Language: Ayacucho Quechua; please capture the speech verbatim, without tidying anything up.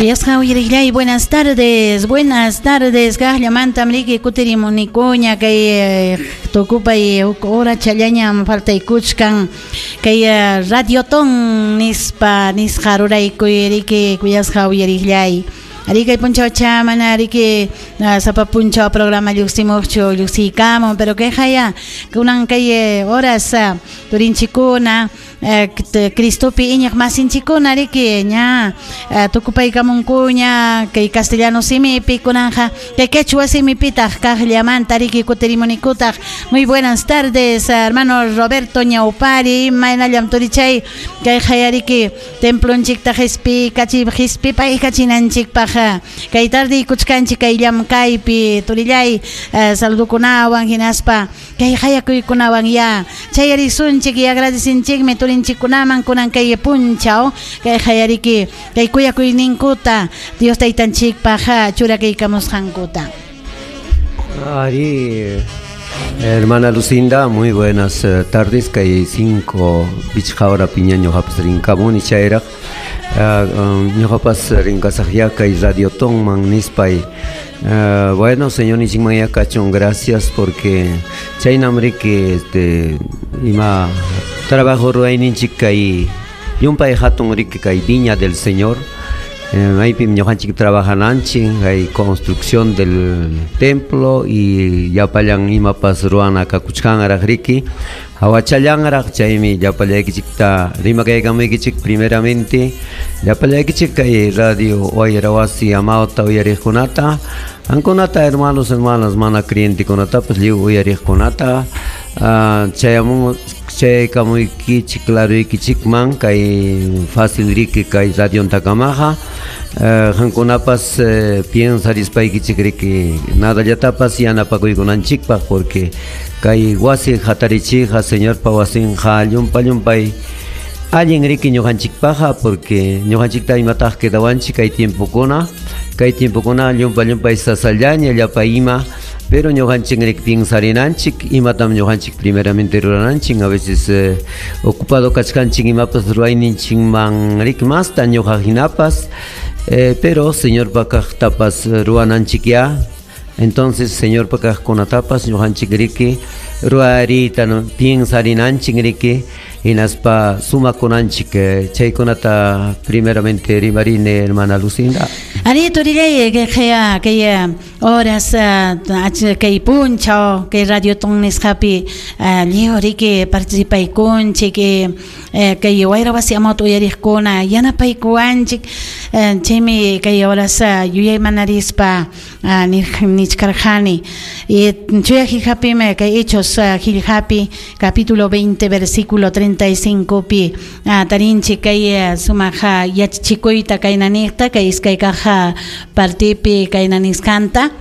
Kuyasqa uyariqllay, buenas tardes, buenas tardes. Kaqllamantam riki kutirimunikuña kay tukupay huk horachallañam faltaykuchkan kay Radiotón nispa nisqa ruraykuy riki kuyasqa uyariqllay. Ari kay punchawcha mana riki sapa punchaw programa lluqsimuqchu lluqsiykamun, pero kayqaya kunan kay horas turinchikuna Cristopi iñiq masinchikuna riki ña tukupaykamunkuña kay castellano simipi kunanja kay quechua simipitaq kaqllamanta riki kutirimunikutaq. Muy buenas tardes, hermano Roberto Ñaupari, imaynallam turichay kayqa riki templonchikta qispi kachi qispipay kachinanchikpaq kay tarde kuchkanchik kay llamkaypi turillay saludukunawan hinaspa kay hayakuykunawan ya chayarisunchik y agradecinchikmi turinchikkunaman kunan kay punchaw kay hayariki kay kuyakuyninkuta Dios taytanchikpaq churakaykamusqankuta. Ari, hermana Lucinda, muy buenas tardes. Kay cinco pichqa hora piña ñuqapas rinkamuni chayraq ñuqapas rinkasaqya kay Radiotonman nispay. Uh, bueno, señor Nichimaya kachun, gracias porque chaynam riki este ima trabajo ruwayninchik kay llumpay hatun riki kay viña del Señor. Maypim ñuqanchik trabajananchik hay construcción del templo y llapallan imapas ruwana kakuchkanraq riki hawachallanraq chaymi llapallaykichikta rimakaykamuykichik primeramente llapallaykichik kay radio Wayrawasi amawta uyariqkunata ankunata hermanos hermanas mana creyentikunatapas lliw uyariqkunata chayamun chaykamuykichik claruykichikman kay fácil riki kay radiontakamaqa qankunapas piensarispaykichik riki nadallatapas yanapakuykunanchikpaq porque kay wasi hatarichikqa Señorpa wasinqa llumpa llumpay allin riki ñuqanchikpaqa porque ñuqanchikta imataq quedawanchik kay tiempokuna kay tiempokuna llumpa llumpay sasallaña llapa ima pero ñuqanchik riki piensarinanchik imatam ñuqanchik primeramente rurananchik a veces eh, ocupado kachkanchik imapas ruwayninchikman riki masta ñuqa hinapas eh, pero Señorpa kaqtapas ruwananchik ya. Entonces Señorpa kaqkunatapas ñuqanchik riki ruwariyta piensarinanchik riki hinaspa sumakunanchik chaykunata primeramente rimarini hermana Lucinda. Ari turillay kay kay horas kay punchaw kay Radioton nisqapi lliw riki participaykunchik kay Wayrawasi amawta uyariqkuna yanapaykuwanchik chaymi kay horas yuyaymanarispa nichkarqani chuya qillqapimi kay Hechos qillqapi capítulo veinte versículo treinta y cinco pi tarinchik kay sumaq yachachikuyta kaynaniqta kay iskay kaq partipi kaynanisqanta.